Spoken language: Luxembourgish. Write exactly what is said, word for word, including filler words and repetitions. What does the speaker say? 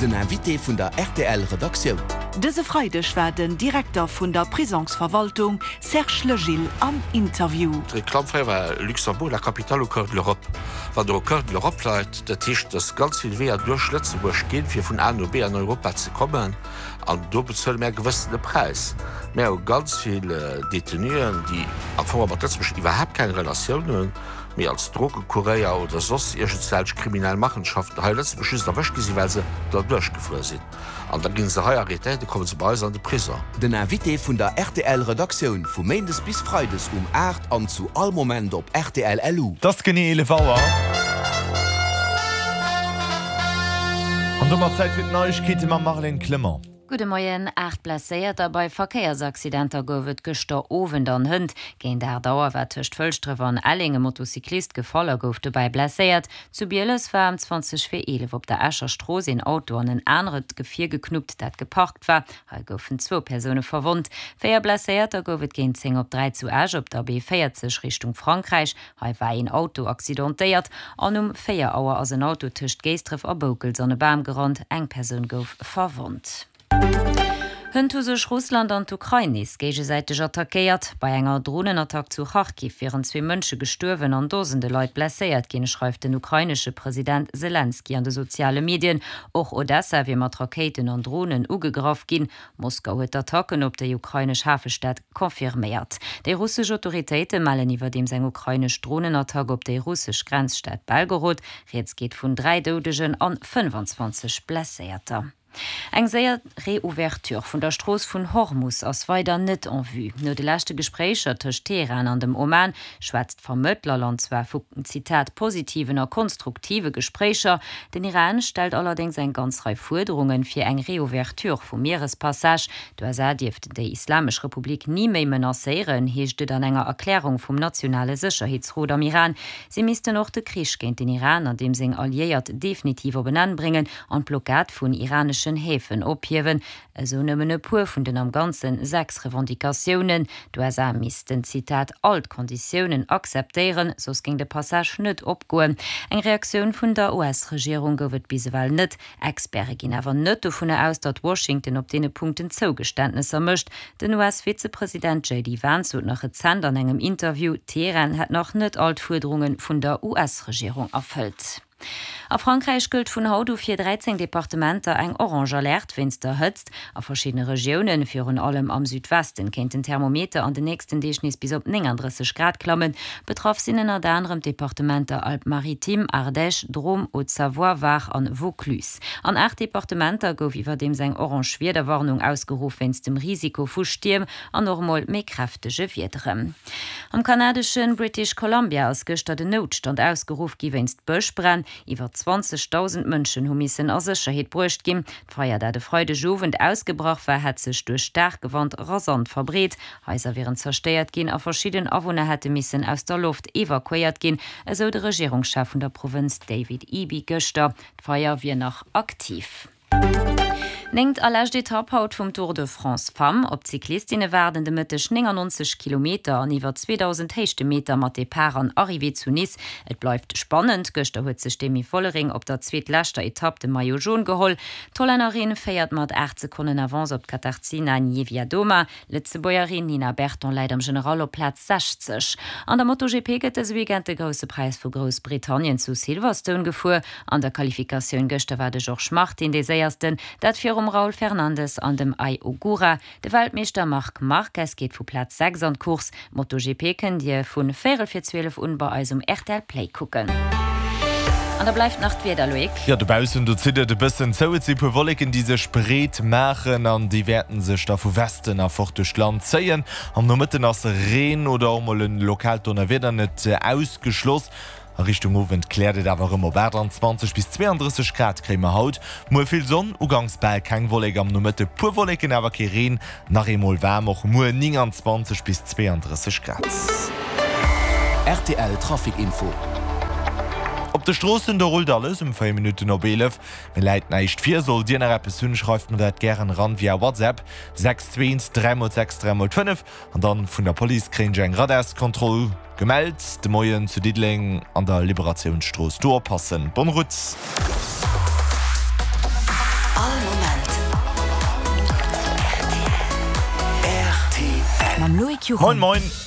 Den Invité vun der R T L Redaktioun. Dëse Freideg war den Direkter vun der Prisongsverwaltung Serge Legil am Interview. D'Reklamm fréier war Luxembourg, la capitale au cœur de l'Europe. Wann der au cœur de l'Europe leit, dat heescht, dass ganz vill Weeër duerch Lëtzebuerg ginn, fir vun A no B an Europa ze kommen, an do bezuele mir e gewëssene Präis. Mir hu ganz vill Detenuen, déi am Fong mat Lëtzebuerg iwwerhaapt keng Relatioun hunn, mee als Drogekuréier oder soss iergendwelch kriminell Machenschaften hei a Lëtzebuerg just erwëscht gi sinn, well se derduerch gefuer sinn. An da gi se hei arrêtéiert, da komme se bei eis an de Prison. Den Invité vun der R T L Redaktioun vu Méindes bis Freides um aacht an zu all Moment op R T L L U. Et ass genee eelef Auer. An domat Zäit fir d'Neiegkeete mam Marlène Clement. Gudde Moien. Aacht Blesséierter bei Verkéiersaccidenter gouf et gëschter Owend an hënt. Géint aacht Auer war tëscht Fëlschdref an Elleng e Motocyclist gefall a gouf dobäi blesséiert. Zu Bieles war ëm zwanzeg vir eelef op der Escher Strooss een Auto an en anert Gefier geknuppt, dat geparkt war. Hei goufen zwou Persoune verwonnt. Véier Blesséierter gouf et géint zéng op dräi zu Esch op der B véierzeg Richtung Frankräich. Hei war een Auto accidentéiert an um véier Auer ass en Auto tëscht Géisdref a Boukels an e Bam gerannt. Eng Persoun gouf verwonnt. Hënt hu sech Russland an d'Ukrain nees géigesäiteg attackéiert. Bei enger Dronenattack zu Charkiw wieren zwee Mënsche gestuerwen an Dosende Leit blesséiert ginn, schreift den ukrainesche President Selenskyj an de soziale Medien. Och Odessa wier mat Rakéiten an Dronen ugegraff ginn. Moskau huet d'Attacken op déi ukrainesch Hafestad confirméiert. Déi russesch Autoritéite mellen iwwerdeems eng ukrainesch Dronenattack op déi russesch Grenzstad Belgorod. Rieds geet vun dräi Doudegen an fënnefanzwanzeg Blesséierter. Eng séier Reouverture vun der Strooss vun Hormus ass weider net en vue. No de leschte Gespréicher tëscht Teheran an dem Oman schwätzt d'Vermëttlerland zwar vu, Zitat, positiven a konstruktive Gespréicher. Den Iran stellt allerdéngs eng ganz Rei Fuerderunge fir eng Reouverture vum Mierespassage. D'U S A dierften déi Islamesch Republik ni méi menacéieren, heescht et an enger Erklärung vum nationale Sécherheetsrot am Iran. Si missten och de Krich géint den Iran an deem seng Alliéiert definitiv op en Enn bréngen an d'Blockad vun iraneschen Häfen ophiewen, esou nëmmen e puer vun den am Ganze sechs Revendicatiounen. D'U S A missten, Zitat, all d'Konditiounen akzeptéieren, soss géing de Passage net opgoen. Eng Reaktioun vun der U S-Regierung gouf et bis ewell net. Experte ginn awer net dovunner aus, datt Washington op deene Punkten Zougeständnesser mécht. Den U S-Vizepresident J D Vance sot nach rezent an engem Interview, Teheran hätt nach net all d'Fuerderunge vun der U S-Regierung erfëllt. A Frankräich gëllt vun haut u fir dräizéng Departementer eng orange Alerte wéinst der Hëtzt. A verschiddene Regiounen, virun allem am Südwesten, kéint den Thermometer an den nächsten Deeg nees bis op nénganddrësseg Grad klammen. Betraff sinn ënnert anerem d'Departementer Alpes-Maritimes, Ardèche, Drôme, Haute-Savoie, Var an Vaucluse. An aacht Departementer gouf iwwerdeems eng orange Wiederwarnung ausgeruff wéinst dem Risiko vu Stierm an och mol méi kräftege Wiederen. Am kanadesche British Columbia ass gëschter den Noutstand ausgeruff gi wéinst Bëschbränn. Iwwer zwanzegdausend Mënschen hu missen a Sécherheet bruecht ginn. D'Feier, dat e Freidegowend ausgebrach war, hätt sech duerch staarke Wand rasant verbreet. Haiser wieren zerstéiert ginn a verschidden Awunner hätte missen aus der Loft evakuéiert ginn, esou de Regierungschef vun der Provënz David Eby gëschter. D'Feier wier nach aktiv. Néngt a lescht Etapp haut vum Tour de France Femmes. Op d'Cyclistinne waarden de Mëtteg néngannonzeg Kilometer an iwwer zweedausend Héichtemeter mat Depart an Arrivée zu Nice. Et bleift spannend. Gëschter huet sech d'Demi Vollering op der zweetleschter Etapp de Maillot jaune geholl. D'Hollännerin féiert mat aacht Sekonnen Avance op d'Katarzyna Niewiadoma. D'Lëtzebuergerin Nina Berton läit am General op Plaz sechzeg. An der MotoGP gëtt dëse Weekend de Grousse Präis vu Groussbritannien zu Silverstone gefuer. An der Qualifikatioun gëschter war de Jorge Martin dee Séiersten, dat virum Raul Fernandez an dem Ai Ogura. De Weltmeeschter Marc Marquez geet vu Plaz sechs an d'Course. MotoGP kënnt Dir vu véierel vir zwielef un bei eis um R T L Play kucken. An da bleift nach d'Wieder, Loïc. Jo, dobaussen, do zitt et e bëssen zou. Et si puer Wolleken, déi sech breet maachen an déi wäerten sech da vu Westen erfort duerch d'Land zéien. Am Nomëtten ass Reen oder och mol e lokaalt Donnerwieder net ausgeschloss. A Richtung Owend kläert et awer erëm op. aachtanzwanzeg bis zweeandrësseg Grad kréie mer haut. Muer vill Sonn, uganks bal keng Wollek, am Nomëtte puer Wolleken, awer kee Reen. Nach eemol waarm och muer, nénganzwanzeg bis zweeandrësseg Grad. R T L Trafic Info. Op de Stroossen, do rullt alles um véier Minutten op eelef. Mir läit näischt vir. Sollt Dir nach eppes hunn, schreift mer dat gären eran via WhatsApp, sechs zwee eent dräi mol sechs dräi mol fënnef. An dann vun der Police kréien ech eng Radarskontroll gemellt de Moien zu Diddeleng an der Liberatiounsstrooss. Do oppassen. Bonne route! Loïc Moin Juchem. moin!